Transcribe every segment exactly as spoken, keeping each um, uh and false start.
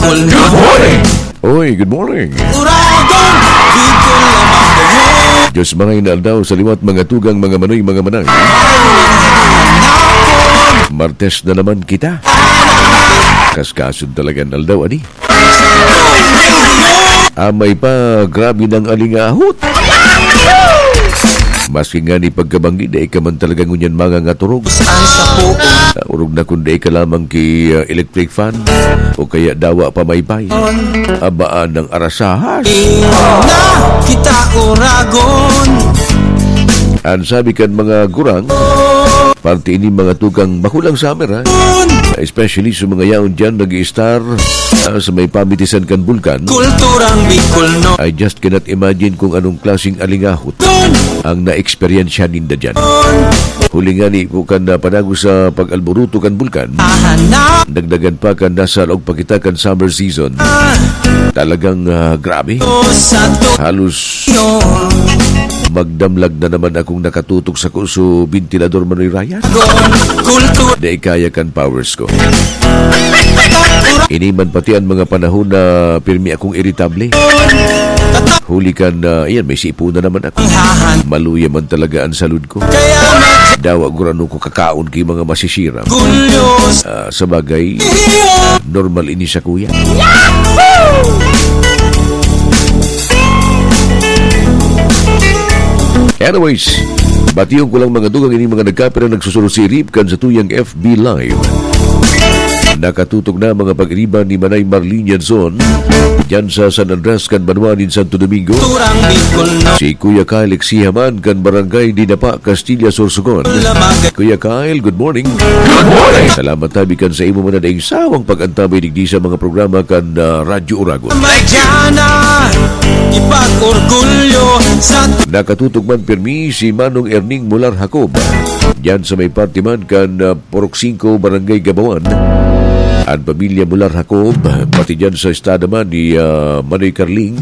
Good morning! Oy, good morning! Uragon, Bicol lamang kayo. Diyos marhay na aldaw sa liwat, mga tugang, mga manoy, mga manay. Martes na naman kita. Kaskasod talaga ng aldaw, ani? Amay pa, grabe ng alingahot. Maski nga ni pagkabanggi, dai ka man talaga ngunyan mangangaturog. Ang sapo. Ah, orog na kun dai ka lamang ki, ah, electric fan o kaya dawa pa maypay. Abaan ng arasahas. Na kita uragon. An sabi kan mga gurang, parte ini mga tugang makulang summer, ha? Especially sa mga yaon dyan, nag-i-star, ah, sa may pamitisan kan bulkan. Kulturang Bicol, no? I just cannot imagine kung anong klaseng alingahot ang na-eksperyensya ninda dyan. Huli nga ni po kan, ah, panago sa pag-alburuto kan bulkan, Ahanak. Dagdagan pa kan nasa laog pa kita kan summer season. Talagang, ah, grabe. Sa to- Halos magdamlag na naman akong nakatutok sa kuso ventilador, Manoy Ryan. Kultura. Dai kaya kan powers ko. Ini man pati ang mga panahon na pirmi akong iritable. Huli kan, ah, ayan, may sipo na naman ako. Maluya man talaga ang salud ko. Dawa gurano ko kakaon kay mga masisiram. Ah, sa bagay, normal ini sa kuya. Anyways, bation ko lang mga dugang ini mga nagkapira nagsusunod si Rip kan sa tuyang F B Live. Nakatutok na mga pag-iriba ni Manay Marlene Yanson, dyan sa San Andres kan Banwa nin Santo Domingo. Turang Bicol, no? Si Kuya Kyle Exihaman kan Barangay Dinapa, Castilla, Sorsogon. Lamang. Kuya Kyle, good morning. Good morning. Salamat tabi kan sa imo man na daing sawang pag-antabay digdi sa mga programa kan, ah, Radyo Uragon. Madyana, ipag-orgulyo sa Nakatutok man pirmi si Manong Erning Mular Jacob. Diyan sa may parte man kan, ah, Purok singko, Barangay Gabawan. An pamilya Mular Jacob, pati diyan sa estada man ni, ah, Manoy Carling,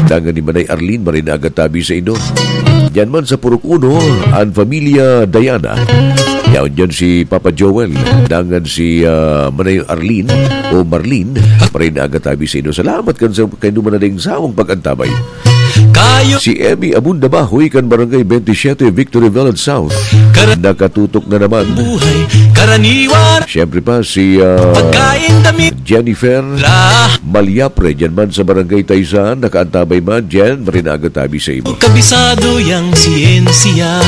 dangan ni Manay Arlene, maray na agad tabi sa inyo. Diyan man sa Purok uno, an pamilya Diana. Yaon diyan si Papa Joel, dangan si, ah, Manay Arlene o Marlene, maray na agad tabi sa inyo. Salamat kan sa, kaindo man na daing sawang pag-antabay. Kayo Si Emmy Abunda Bahoy kan Barangay twenty-seven, Victory Village South. Kara- Nakatutok na naman. Buhay, karaniwan. Siyempre pa si, ah, Pagkain, damit. Jennifer La. Malyapre, dyan man sa Barangay Taysan, nakaantabay man, Jen, maray na agad tabi sa imo. Kabisado yang siyensiya.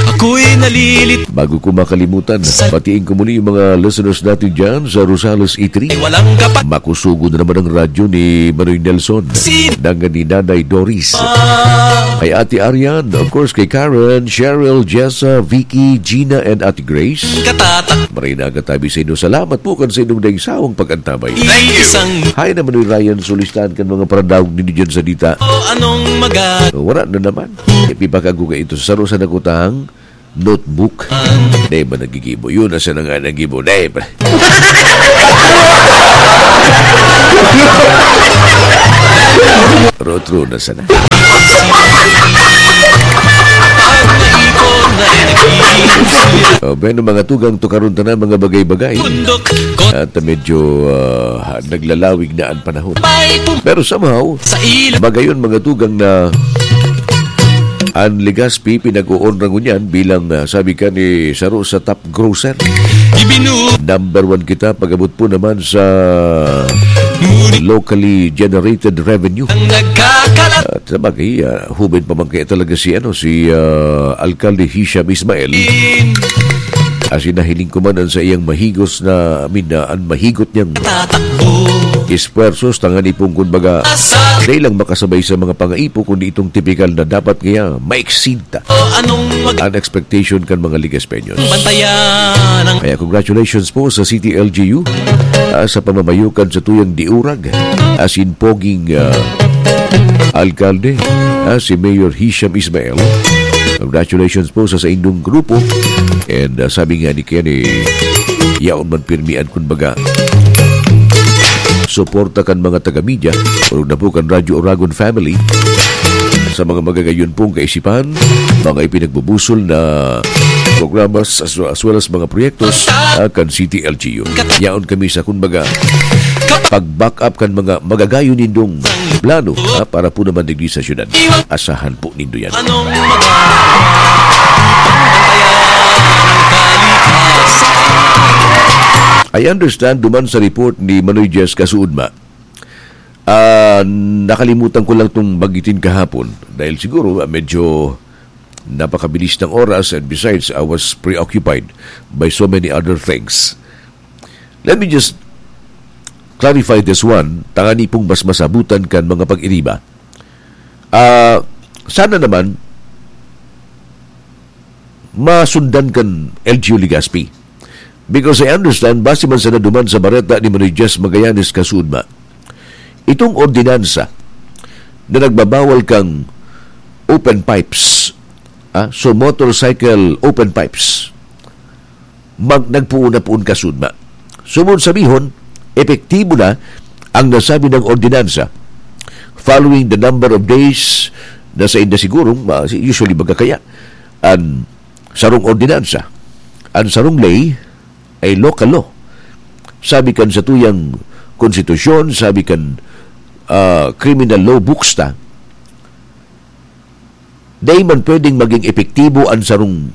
Ako'y nalilit. Bago ko makalimutan, Sa- batiin ko muli yung mga listeners natin dyan sa Rosales E three. Walang kapa- Makusugo na naman ang radyo ni Manoy Nelson. Sin- Dangan ni Nanay Doris. Ah. Kay Ate Arian, of course, kay Karen, Cheryl, Jessa, Vicky, Gina, and Ate Grace. Katatak. Maray na agad tabi sa inyo. Salamat po kan sa inyong daing sawang pag-antabay. Thank you. Isang Hi naman ni Ryan, sulistahan kan mga paradaog ninyo dyan sa dita. O anong maga- Wala na naman. Ipipakago ka ito sa saro sa nakutang notebook. Di ba nagigibo? Yun, asa na nga nagibo? Di ba? Rotro na sana. O, bueno, mga tugang tukaron ta na, mga bagay-bagay. At medyo, ah, naglalawig na ang panahon. Pero somehow, Sa ilog. Magayon, mga tugang na ang Legazpi, pinag-oonra ngunyan bilang, ah, sabi ka ni saro sa top grocer. Ibinu- Number one kita, pag-abot po naman sa Ngunit locally generated revenue. Ang nagkakalat- At sa bagay, ah, humin pa man kaya talaga si, ano, si, ah, Alkalde Hisham Ismail. Asin nahiling ko man ang sa iyang mahigos na, I mean, na ang mahigot niyang Tatakbo. Esfuerzos, tangan ipong, kumbaga, Asa? Dahil lang makasabay sa mga pangaipo, kundi itong tipikal na dapat kaya maiksin ta O anong mag- ang expectation kan mga Ligaspeños. Bantayan ang Kaya congratulations po sa City L G U, ah, sa pamamayo kan sa tuyang diurag, asin poging, ah, alkalde, ah, si Mayor Hisham Ismail. Congratulations po sa, sa inyong grupo. And, ah, sabi nga ni Kenny, yaon man pirmi an, kumbaga, suporta kan mga taga-media, orog na po kan Radyo Oragon family. Sa mga magagayon pong kaisipan, mga ipinagbubusol na programas as, as well as mga proyektos, ah, kan City L G U. Yaon kami sa, kumbaga, pag-back up kan mga magagayon nindong plano, ah, para po naman digdi sa syudad. Asahan po nindo yan. I understand, duman sa report ni Manoy Jess Kasuudma, ah, nakalimutan ko lang tong banggitin kahapon dahil siguro, ah, medyo napakabilis ng oras, and besides, I was preoccupied by so many other things. Let me just clarify this one, tangani pong mas masabutan kan mga pag-iriba. Ah, sana naman, masundan kan L G U Legazpi. Because I understand, base man sana duman sa bareta ni Manoy Jess Magallanes Kasuudma, itong ordinansa na nagbabawal kang open pipes, ah, so motorcycle open pipes, mag-, nagpuon na poon Kasuudma. Sumon sabihon, epektibo na ang nasabi ng ordinansa following the number of days na sa inda sigurong, ma-, usually baga kaya, an sarong ordinansa, an sarong ley ay local law. Sabi kan satuyang konstitusyon, sabi kan, ah, criminal law books ta, dai man pwedeng maging epektibo an sarong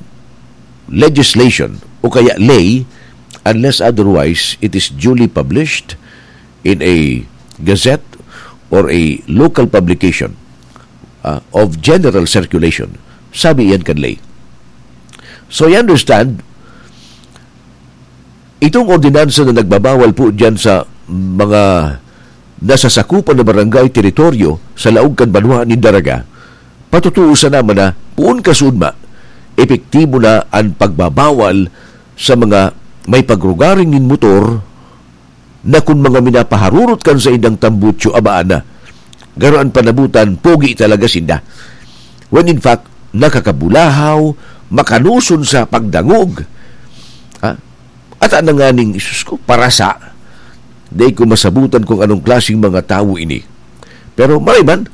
legislation o kaya ley unless otherwise it is duly published in a gazette or a local publication, ah, of general circulation. Sabi iyan kan ley. So, I understand, itong ordinansa na nagbabawal po diyan sa mga nasasakupan na barangay, teritoryo sa laog kan banwaan nin Daraga, patutuusan naman na, poon Kasuudma, epektibo na an pagbabawal sa mga may pagrugaring nin motor na kun mga minapaharurot kan saindang tambutso, abaan na. Garo an panabutan, pogi talaga sinda. When in fact, nakakabulahaw, makanoson sa pagdangog. Ha? At ang nanganing, "Isus ko, parasa." Dai ko masabutan kung anong klaseng mga tawo ini. Pero maray man,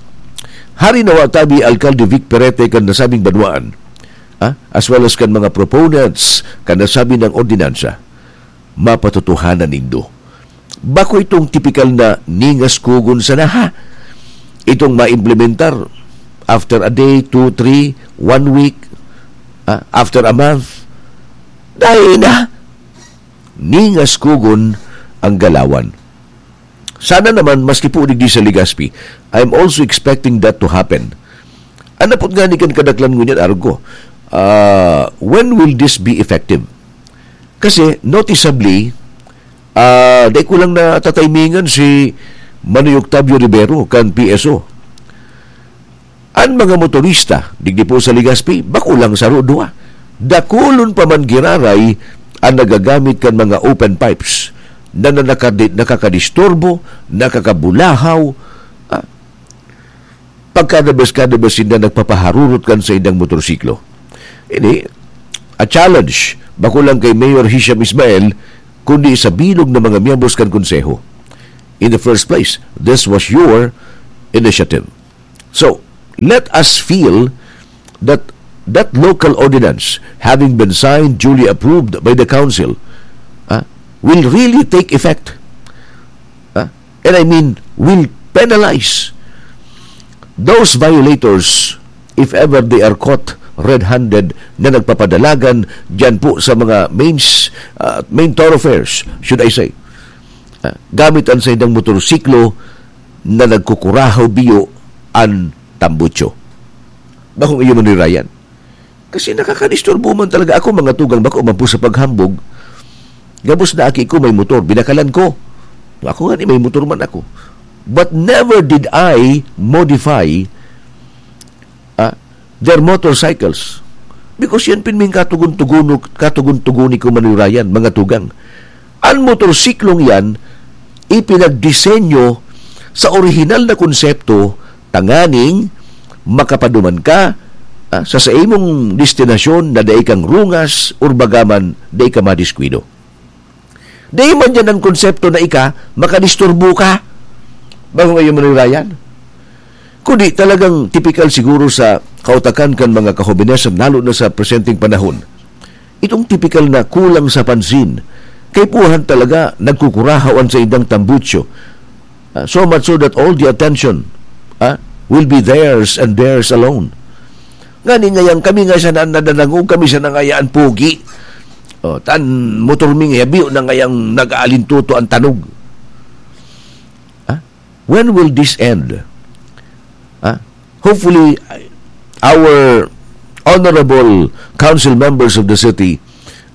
hari na watabi Alkalde Vic Perete kan nasabing banwaan, ha? As well as kan mga proponents kan nasabi ng ordinansa, mapatotohanan nindo. Bako itong tipikal na ningas kugon sana, ha? Itong maimplementar after a day, two, three, one week, ah, after a month. Dai na. Ningas kugon ang galawan. Sana naman, maski po digdi sa Legazpi, I'm also expecting that to happen. An napot ngani kan kadaklan ngunyan, arog ko, ah, when will this be effective? Kasi, noticeably, ah, dai ko lang natataymingan si Manoy Octavio Rivero kan P S O. An mga motorista digdi po sa Legazpi, bako lang saro, duwa. Dakulon pa man giraray an nagagamit kan mga open pipes na, na nakadi-, nakakadisturbo, nakakabulahaw, ah, pagkada bes, kada bes sinda nagpapaharurot kan saindang motorsiklo. Ini, a challenge, bako lang kay Mayor Hisham Ismael, kundi sa bilog na mga miyembros kan Konseho. In the first place, this was your initiative. So, let us feel that that local ordinance, having been signed, duly approved by the council, ah, will really take effect. Ah, and I mean, will penalize those violators if ever they are caught red-handed na nagpapadalagan diyan po sa mga mains-, ah, main thoroughfares, should I say. Ah, gamit ang saindang motorsiklo na nagkukurahaw biyo an tambutso. Bakong iyo man ni Ryan. Kasi nakakadisturbo man talaga ako, mga tugang, bako man po sa paghambog. Gabos na aki ko may motor, binakalan ko. Ako nga ni may motor man ako. But never did I modify, ah, their motorcycles. Because yan pin ming katugon-tugono-, katugon-tugoni ko, Manoy Ryan, mga tugang. An motorsiklong yan, ipinagdisenyo sa orihinal na konsepto tanganing makapaduman ka, ah, sa saimong destinasyon na dai kang rungas or bagaman dai ka madiskuido. Dai man diyan an konsepto na ika makadisturbo ka. Bako man iyo, Manoy Ryan. Kundi talagang tipikal siguro sa kautakan kan mga kahobenesan, lalo na sa presenteng panahon. Itong tipikal na kulang sa pansin. Kaipuhan talaga nagkukurahaw an saindang tambutso. Ah, so much so that all the attention, ah, will be theirs and theirs alone. Ngani ngayang kami nga siya na nadadangog, kami siya na ngaya an pogi. Oh, tan motor mi ngaya, biyo na ngayang nag-aalintuto an tanog. Ah? When will this end? Ah? Hopefully, our honorable council members of the city,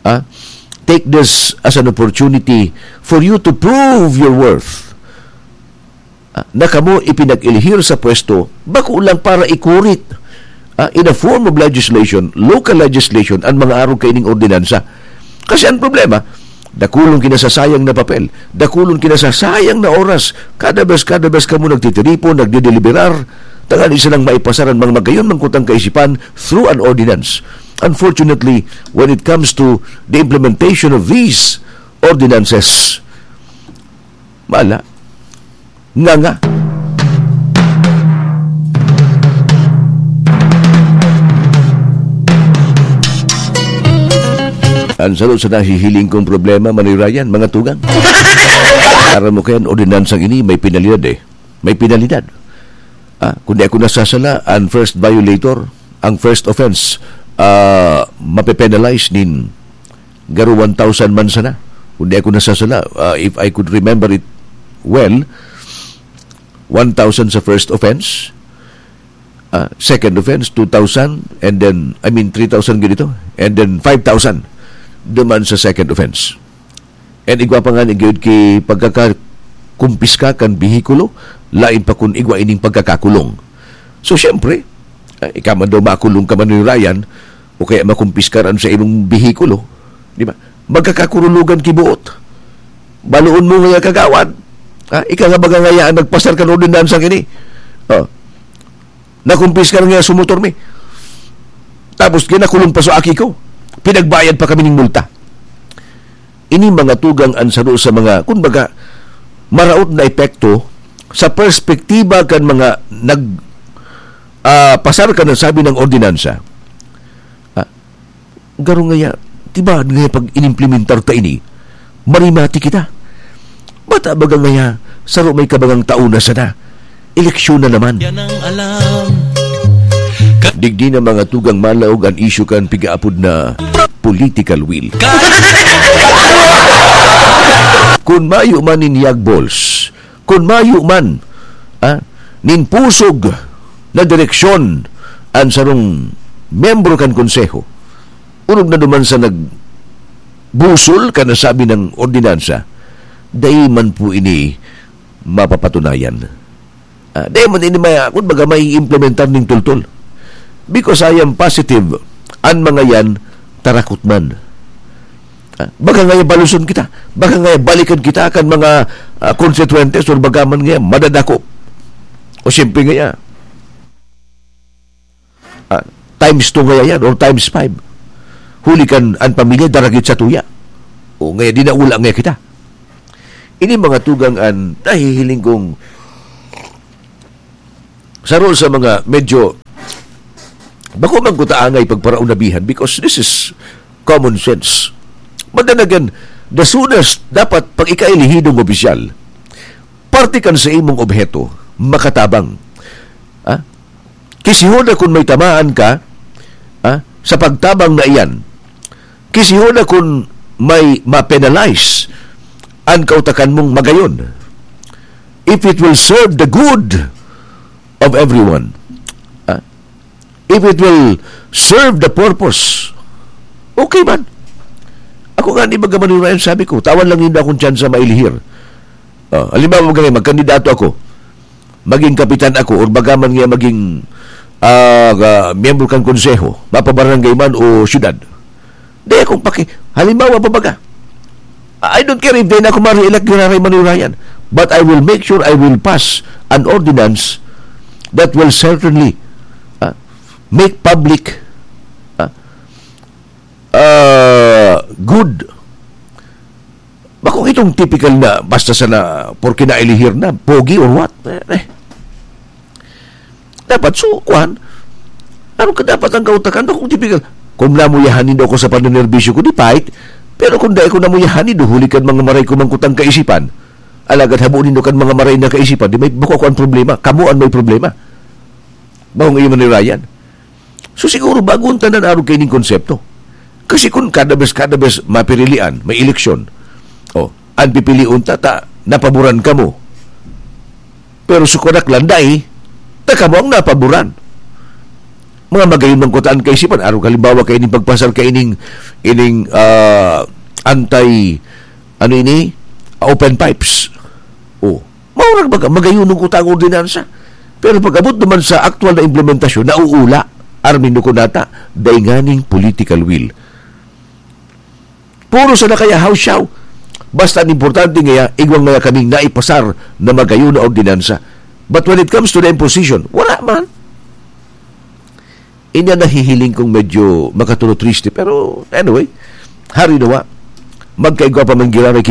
ah, take this as an opportunity for you to prove your worth. Ah, na kamo ipinag-elihir sa pwesto, bako lang para ikurit, ah, in a form of legislation, local legislation, ang mga arog kaining ordinansa. Kasi ang problema, dakulong kinasasayang na papel, dakulong kinasasayang na oras, kada bes, kada bes kamo nagtitiripon, nagdideliberar, tanganing sanang maipasar an mga magayon man kutang kaisipan through an ordinance. Unfortunately, when it comes to the implementation of these ordinances, wala. Nga nga. Ang saro sa nahihiling kong problema, Manoy Ryan, mga tugang. Aram mo kaya, ang ordinansang ini may penalidad eh. May penalidad. Ah, kung di ako nasasala, ang first violator, ang first offense, ah, mape-penalize nin garo one thousand man sana. Kung di ako nasasala, ah, if I could remember it well, one thousand sa first offense, ah, second offense, two thousand, and then, I mean, three thousand ganito, and then five thousand duman sa second offense. And igwa pa nga ni gayud ki pagkakakumpiska kan behikulo, lain pa kun igwa ining pagkakakulong. So, siyempre, ah, ika man daw makulong ka man ni Ryan, o kaya makumpiskar an sa imong behikulo, di ba? Magkakakurulugan ki buot. Baloon mo ngaya, kagawad. Ha? Ika nga baga ngaya ang nagpasar kan ordinansang ini. Oh. Nakumpiskar ngaya so motor mi. Tapos ginakulong pa so aki ko. Pinagbayad pa kami ning multa. Ini mga tugang an saro sa mga, kumbaga, maraot na epekto sa perspektiba kan mga nag, ah, pasar kan nasabi ng ordinansa. Ah, garo ngaya, tibaad ngaya pag inimplementar ta ini, marimati kita. Bata baga ngaya, saro may kabangang taon na sana. Eleksyon na naman. Yan ang alam. Digdi na mga tugang malaog an isyu kan pigaapod na political will. Kun mayo man nin yagbols, kun mayo man, ah, nin pusog na direksyon an sarong miyembro kan konseho, orog na duman sa nagbusol kan nasabi ng ordinansa, dai man po ini mapapatunayan. Ah, dai man ini maya, kumbaga, maiimplementar nin tultol. Because I am positive, an mga yan, tarakot man. Ah, baka ngaya baluson kita, baka ngaya balikan kita kan mga, ah, konstituyentes or baka man ngaya madadakop. O siyempre ngaya, ah, times two ngaya yan or times five. Huli kan an pamilya daragit sa tuya. O ngaya dinaula ngaya kita. Ini mga tugang an nahihiling kong saro sa mga medyo bako man kuta angay pagparaunabihan because this is common sense. But then again, the soonest dapat pag ika elihidong opisyal, parte kan sa imong obheto, makatabang. Ah? Kisihoda kun may tamaan ka, ah, sa pagtabang na iyan. Kisihoda kun may ma-penalize an kautakan mong magayon. If it will serve the good of everyone. Ah, if it will serve the purpose, okay man. Ako nga, di ba, Manurayan, sabi ko, tawan lang yun akong tsansa mailihir. Ah, halimbawa, magkani-, magkandidato ako, maging kapitan ako, or bagaman nga maging, ah, ga-, miyembro kan konseho, mapabarangay man o syudad. Di akong paki-, halimbawa pa baga, I don't care if di na ako ma-re-elect, Giraray Manurayan, but I will make sure I will pass an ordinance that will certainly, ah, make public, ah, ah, good. Bakong itong typical na basta sana porke nailihir na, pogi or what? Eh, eh. Dapat, so, kuwan, ano ka dapat ang kautakan? Bakong typical, Kung namuyahan nindo ako sa pananerbisyo ko, di pait. Pero kung dai ko namuyahan nindo, huli kan mga maray ko mangkutang kaisipan. Alagad habo nindo kan mga maray na kaisipan, di may bako ako ang problema. Kamo ang may problema. Bawang iyo man ni Ryan. So siguro, bago ang tanan arog kaining konsepto. Kasi kung kada bes, kada bes mapirilian, may eleksyon. Oh, ang pipilion ta, ta, napaboran kamo. Pero sukarak lang dai, ta kamo ang napaboran. Mga magayon man kutaan kaisipan, arog halimbawa kaining pagpasar kaining, ining, ah, anti, ano ini? Open pipes. Oh, maurag baga, magayon ang kutang ordinansa. Pero pag-abot naman sa aktual na implementasyon, nauula. Armin ko nata, dai nganing political will. Puro sana kaya hawsyaw. Basta ang importante ngaya, igwang ngaya kaming naipasar na magayon na ordinansa. But when it comes to the imposition, wala man. Inya nahihiling kong medyo makatulo triste. Pero anyway, hari nawa, magkaigwa pa man giraray ki